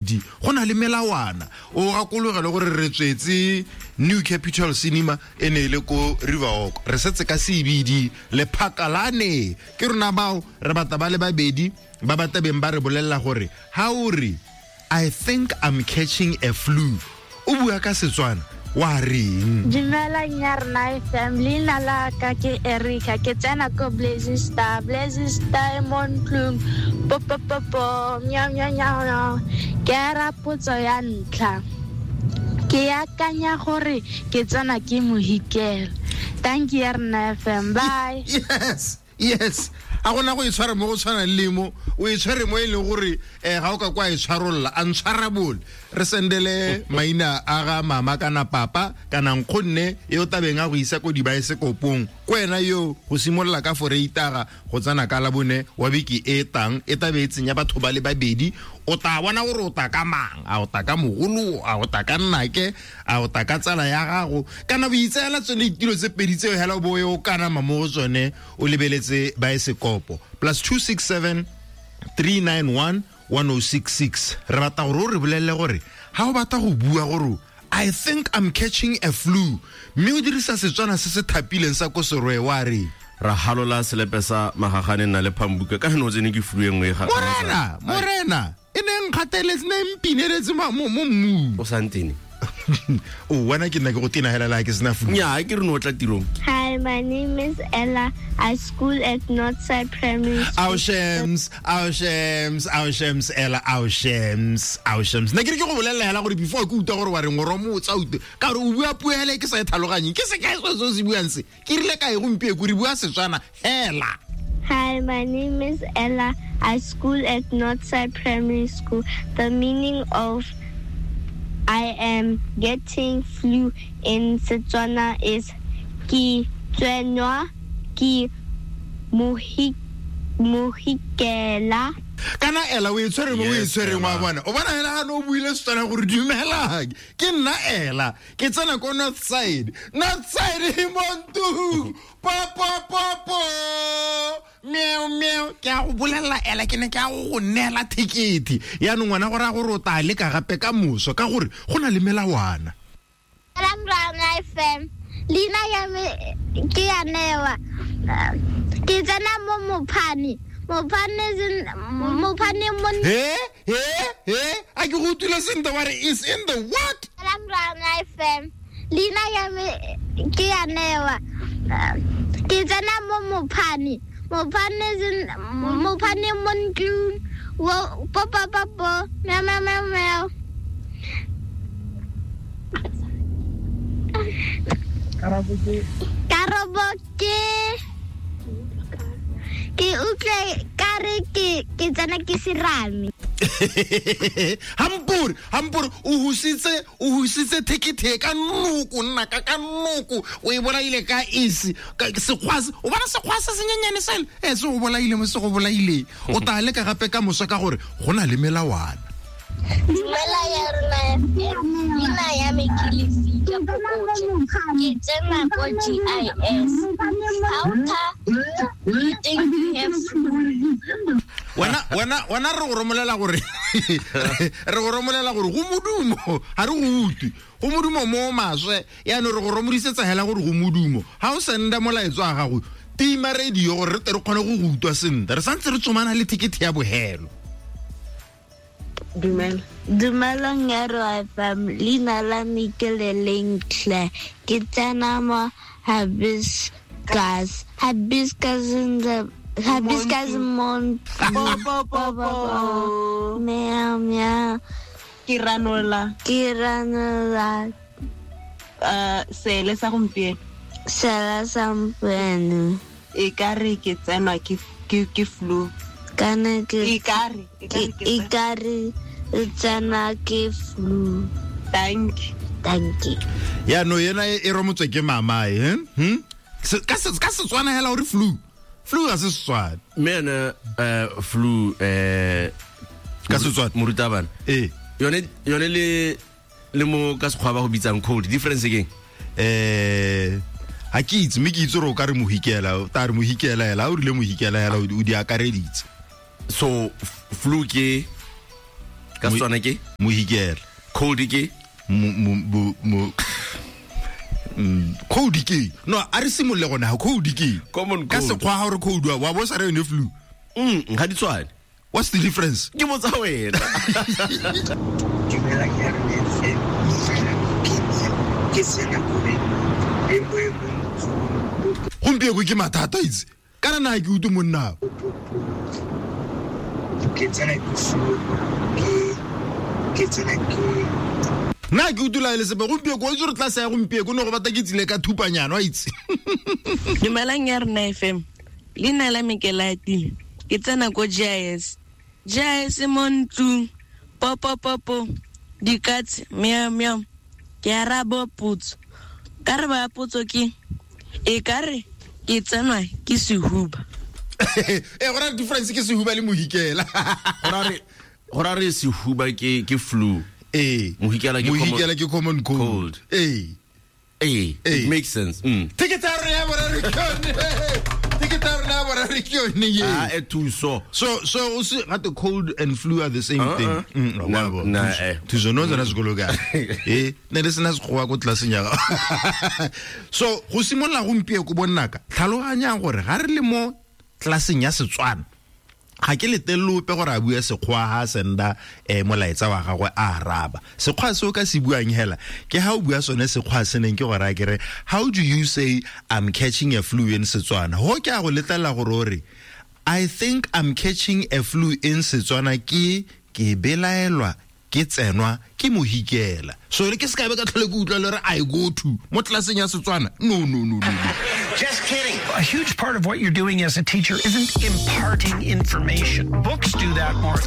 Di go na le melawana. O gakologele gore re tswetse New Capital Cinema e ne e le ko Riverwalk, re setse ka CBD lephakalane. Ke rona bao re batla ba le babedi ba ba tabeng ba re bolelela gore ha o re "I think I'm catching a flu", o bua ka Setswana wa reng? Dumelang ya rena FM, leina la ka ke Erica, ke tsena ko Blazing Star, Blazing Star e mo ntlong, po po po po, meow meow meow meow. Ke ara potso ya ntlha, ke akanya gore ke tsena ke mohikelo. Thank you ya rena FM, bye. Yes, a gona go e tshware mo go tshwana le mo o e tshware mo e leng gore ga o ka kwa e tshwarolola untshwarable. Re sendele maina a ga mama kana papa kana nkgonne e o tabeng a go isa ko dibaesekopong ko wena yo go simolola ka foreitara go tsena ka labone wa beke e tang e tabe e tsenya batho ba le babedi. O tla bona gore o ta ka mang, a o ta ka mogolo, a o ta ka nnake, a o ta ka tsala ya gago, kana o itseela tsone ditilo tse pedi tseo hela o bo o kanama mo go tsone o lebeletse baesekopo. +267 391 1066. Re batla gore o re bolelele gore ha o batla go bua gore "I think I'm catching a flu", mme o dirisa Setswana se se thapileng sa ko Seroe, wa re? Ra halola selepe sa magagane nna le phambuka ka no tsene ke flu e nngwe e ga Morena, e ne nkgateletse, ne mpineletse mo mmung. O santene. O wena ke nna ke go tena hela la ke sena flu. Nya, ke re no tla tirong. Hi, my name is Ella. I school at Northside Primary School. Au shems, au shems, au shems, Ella, au shems, au shems. Ne ke re ke go bolelela hela gore before ke utlwa gore wa reng, o romotsa utlwe ka gore o bua puo hela e ke sa e tlhaloganyeng. Ke se kae se se buang se? Ke rile kae gompieno re bua Setswana hela. Hi, my name is Ella. I school at Northside Primary School. The meaning of "I am getting flu" in Setswana is ke tsenwa ke mohikela. Kana Ella o e tshwere mo o e tshwereng wa bona. O bona hela ha no buile Setswana gore dumela. Ke nna Ella, ke tsena ko Northside. Northside e mo ntlong. Po po po po. Meow meow. Ke a go bolelela Ella, ke ne ke a go neela thekete. Yaanong ngwana gore a gore o tla leka gape ka moso ka gore go na le melawana. Rang FM, leina ya me ke ya Newa. Ke tsena mo Mophane. Mophane mo He he he, a ke go utlwile sentle wa re is in the what? Rang FM, leina ya me ke ya Newa. Ke tsena mo Mophane. Mophane mo ntlong. Wo po po po po. Meow meow meow meow. Karabo ke utlwe ka re ke tsena ke serame. Hampuri o husitse thekethe ka noko, nna ka noko o e bolaile ka esi ka sekgwa se, o bona sekgwa se senyenyane sele e se o bolaile mo se go bolaile. O tla leka gape ka moso ka gore go na le melawana. Dumela ya rona FM, leina ya me ke Lefika Phokoje, ke tsena ko GIS. How you think you have flu? Wena re go romolela gore re go romolela gore go modumo, ha re go utlwe. Go modumo mo maswe, yaanong re go romodisetsa hela gore go modumo. Ha o senda molaetso wa gago, tima radio gore re tle re kgone go go utlwa sentle. Re santse re tsomana le ticket ya bohelo. Dumela. Dumelang ya Ro FM, leina la me ke Lelentle. Ke tsena mo Hibiscus. Hibiscus in the Hibiscus Mont. Po, po, po, po. Meow, meow. Ke ranola. Ke ranola. Sele sa gompieno. Sele sa gompieno. E ka re ke tsenwa ke flu. Kana ke E ka re, e ka re ke E ka re e tsena ke flu. Thank you. Thank you. Ya no yena e romotswe ke mama e, Ka Setswana hela o re flu. Flu ga se Setswana. Mme ene, flu, Ka Setswana. Morutabana. Ee. Yone le mo ka Sekgowa ba go bitsang cold, difference ke eng? Ha ke itse, mme ke itse gore o ka re mohikela, o tla re mohikela hela, ha o rile mohikela hela, o di akareditse. So flu ke Ka Setswana ke? Mohikela. Cold ke? Cold ke? No, a re simolole gone ga cold ke. Common Ka cold. sekgwa ga gore cold wa bo sa re yone flu. Ga di tshwane. What's the difference? Ke botsa wena. Dumelang ya rona FM, ke sena kore e mo e mo Gompieno ke mathata itse. Kana na ke utlwe monna. Ke tsena ke flu, ke tsena ke Nna ke utlwela le sepe gompieno o itse gore tlase ya gompieno ne go batla ke tsile ka thupanyana wa itse. Dumelang ya rona FM. Leina la me ke Latile. Ke tsena ko GIS. GIS mo ntlung. Popo popo. Dikatse meow meow. Ke araba potso. Karabo ya potso ke e ka re ke tsenwa ke sehuba. Go na le difference ke sehuba le mohikela. Go ra re sehuba ke flu. Ee. Mohikela ke common Mohikela ke common cold. Cold. Ee. Ee, Ee. it makes sense. Ticket ya rona ya boraro ke yone. Ticket ya rona ya boraro ke yone ye. Ah, e thuso. So o se gate cold and flu are the same Uh-uh. thing. No, Wa bo. na, eh. Thuso no tsena sekolo ka. Ne le sena sekgowa ko tlelaseng ya gago. So go simolola gompieno ko bonnaka, tlhaloganyang gore ga re le mo tlelaseng ya Setswana, ga ke letelele ope gore a bue sekgwa ha a senda molaetsa wa gagwe a araba. Sekgwa se o ka se buang hela ke ha o bua sone sekgwa se neng ke gore a kere how do you say I'm catching a flu in Setswana? Ho ke a go letlela gore o re I think I'm catching a flu in Setswana ke belaelwa ke tsenwa ke mohikela. So re ke se ka be ka tlhole ke utlwa le re I go to mo tlelaseng ya Setswana. No, no, no, no, no. Just kidding. A huge part of what you're doing as a teacher isn't imparting information. Books do that more